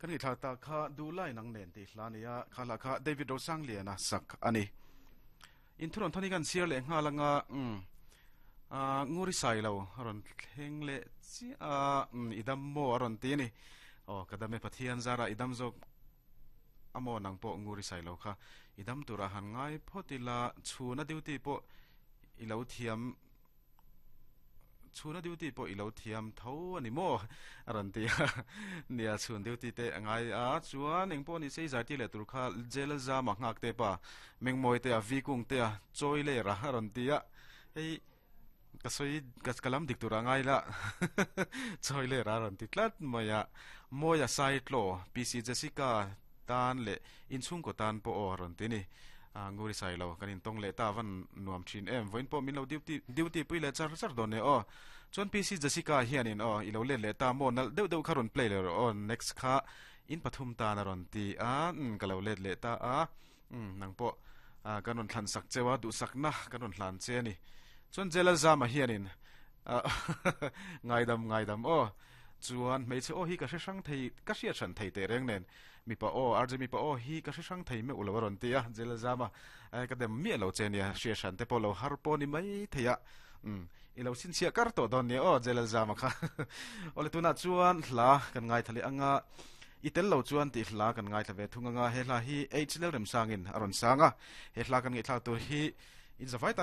Kan ngaihthlak tak kha Duhlai nang nen tih hla a ni a, kha hla kha David Rosangliana sak a ni. Inthunawn thawn hi kan chhiar leh nghal anga umm ah Nguri Sailo a rawn thleng leh chiah a, umm i dam maw a rawn ti a ni. Aw ka dam e Pathian zara i dam zawk a maw nang pawh Nguri Sailo kha i dam turah han ngai phawt ila chhuna duty pawh i lo thiam Chhuna duty pawh i lo thiam tho a ni maw? a rawn ti a. Nia, chhun duty te a ngai a, chuan eng pawh ni se i zai tir leh tur kha Jail Zama nghak te pa, Mengmawi te a, Vi Kung te a, Chawi ler a a rawn ti a. Hei ka sawi ka lam dik tur a ngai la, Chawi ler a a rawn ti tlat mai a. Mawia Saitlaw, PC Jessica tan leh inchhungkaw tan pawh aw a rawn ti ni. A Nguri Sailo kan intawng leh ta van nuam thin em vawiin pawh min lo duty duty pui leh char char dawn nia aw. Chuan PC Jessica hianin aw i lo let leh ta maw nalh deuh deuh kha rawn play leh rawh aw next kha in pathum tan a rawn ti a umm ka lo let leh ta a umm nang pawh ah kan rawn thlan sak cheu a duhsakna kan rawn hlan che a ni. Chuan Jelalzama hianin ah ngaidam ngaidam aw chuan hmeichhe aw hi ka hre hrang thei ka hriat hran thei teh reng nen Mipa aw, RJ mipa aw hi ka hre hrang thei meuh lo a rawn ti a, Jela zam a, ka dem miah lo che nia, hria hran te pawh lo har pawh ni mai thei a, umm, i lo chhinchhiah kar tawh dawn nia aw, Jela zam a kha. Awle tunah chuan hla kan ngaithla leh ang a, i tel lo chuan tih hla kan ngaithla ve thung ang a, he hla hi H Lalremsangin a rawn sang a, he hla kan ngaihthlak tur hi in zavai tan.